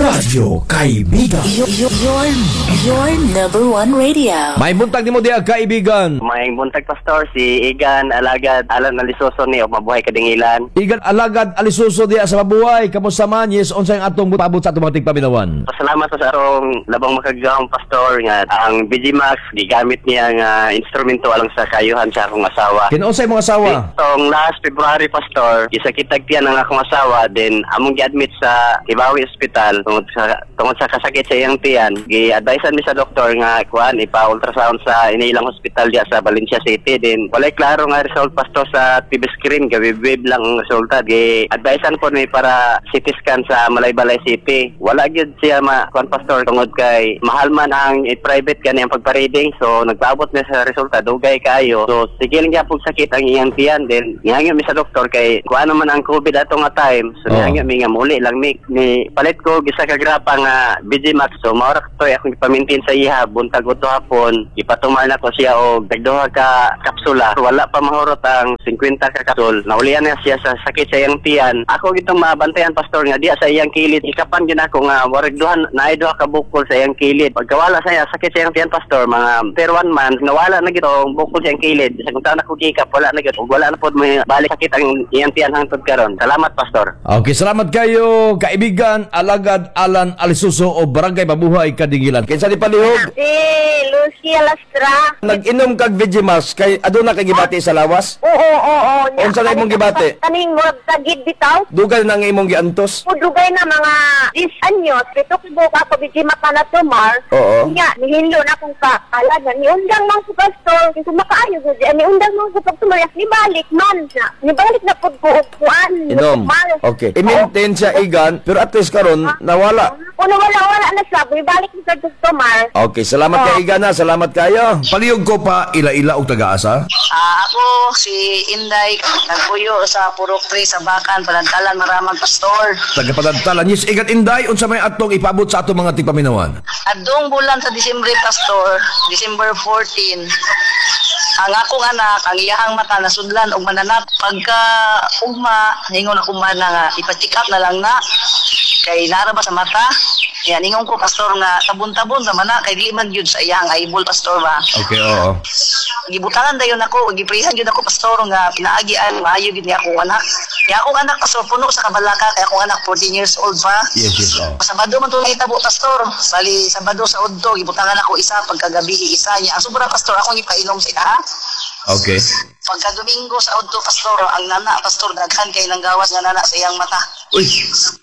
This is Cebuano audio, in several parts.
Radyo Kaibigan. Your number one radio. May buntag nimo diha, kaibigan. Maayong buntag, Pastor, si Igan Alagad Alan Alisuso ni og Mabuhay, Kadingilan. Igan Alagad Alisuso diha sa Mabuhay. Kamusta man? Yes, unsay ang atong paabot sa atong mga tigpaminawan? Pasalamat sa atong labong makagagahom, Pastor, nga ang BG Max gigamit niya nga instrumento alang sa kayuhan sa akong asawa. Kinunsay imong asawa? Itong last February, Pastor, gisakitag tiyan ang akong asawa, then among gi-admit sa Kibawi Hospital tungod sa kasakit sa iyang tiyan. Gi-advisean mi sa doktor nga kuan, ipa-ultrasound sa inilang hospital diya sa Valencia City. Then walay klaro nga result, Pastor, sa TV screen, gabi-wave lang ang resulta. Gi-advisean po mi para CT scan sa Malaybalay City. Wala gyud siya ma kuan, Pastor, tungod kay mahal man ang private gani ang pagpa-reading, so nagpaabot na sa resulta dugay kaayo. So sige lang gyapon sakit ang iyang tiyan, then nihangyo mi sa doktor kay kuan naman ang COVID ato nga time, so nihangyo mi nga muli lang mi. Ni palit ko isa ka grapa nga BG Max, so mao ra toy akong ipamintin sa iha buntag udto hapon. Ipatumar nako siya og tagduha ka kapsula. Wala pa mahurot ang 50 ka kapsul, naulian na siya sa sakit sa iyang tiyan. Ako gitong mabantayan, Pastor, nga diya sa iyang kilid, ikapan gyud ako nga warag duhan naay duha ka bukol sa iyang kilid. Pagkawala sa iya sakit sa iyang tiyan, Pastor, mga per one month nawala na gid ang bukol sa iyang kilid. Sa kung taon ako gikap, wala na gid ug wala na pod may balik sakit ang iyang tiyan hangtod karon. Salamat, Pastor. Okay, salamat kayo, kaibigan Alagad Alan Alisuso o Barangay Mabuhay, Kadingilan. Kinsa ni palihog? Si Lucia Lastra. Nag-inom kag Vigimax kay aduna kay gibati sa lawas? Oo. Unsa na imong gibati? Kaning murag tagid bitaw. Dugay na nga imong giantos. Dugay na mga 10 anyos. Pito ko ako bijima pa na tumar. Nya, nihinlo na akong kakala na niundang man ko, Pastor. Kung makaayo gud siya, niundang man ko pag tumar. Nibalik man na. Nibalik na pud ko og kuan. Inom. Tumar. Okay. I-maintain siya, Igan, pero at least karon nawala. Kung wala, wala na siya. Nibalik na sa tumar. Okay, salamat kay Igan ha. Salamat kayo. Palihog ko pa ila-ila og taga-asa. Ah, ako si Inday, nagpuyo sa Purok 3 sa Bakan, Panadtalan, Maramag, Pastor. Tagapadadtalan. Yes, Igan Inday, unsa may atong ipaabot sa atong mga tigpaminawan? Adtong bulan sa Disyembre, Pastor, December 14, ang akong anak, ang iyahang mata nasudlan og mananap. Pagka ugma, ningon ako man na nga, ipa-check up na lang na. Kay nara ba sa mata? Yan, ningon ko, Pastor, nga tabon-tabon naman na, kay di man yun sa iyahang eyeball, Pastor, ba? Okay, oo. Gibutangan dayon ako, giprihan gyud ako, Pastor, nga pinaagian maayo gyud ni akong anak. Ni akong anak, Pastor, puno sa kabalaka kay akong anak 14 years old pa. Yes, oo. Sabado man to nahitabo, Pastor. Bali Sabado sa udto gibutangan ako isa, pagkagabi isa niya. Ang sobra, Pastor, akong ipainom sa ina. Okay. Pagka Domingo sa udto, Pastor, ang nana, Pastor, daghan kay nang gawas nga nana sa iyang mata. Uy,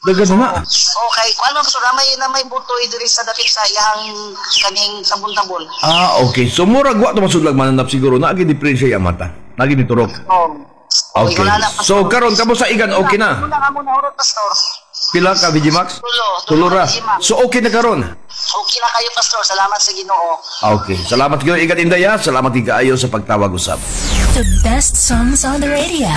daghan na. Okay, kuan man, Pastor, na may butoy diri sa dapit sa iyang kaning sabon-tabon. Ah, okay. So murag wa to masudlag mananap siguro na agi diferensya yung mata. Nagi ni turok. Oh. Okay. So karon kamo sa Igan, okay na. Wala nga mo nahurot, Pastor. Pila ka Vigimax? Tulo. Tulo ra. Vigimax. So okay na karon. Okay na kayo, Pastor. Salamat sa Ginoo. Okay. Salamat kayo, Igan Inday, ha. Salamat kaayo sa pagtawag usab. The best songs on the radio.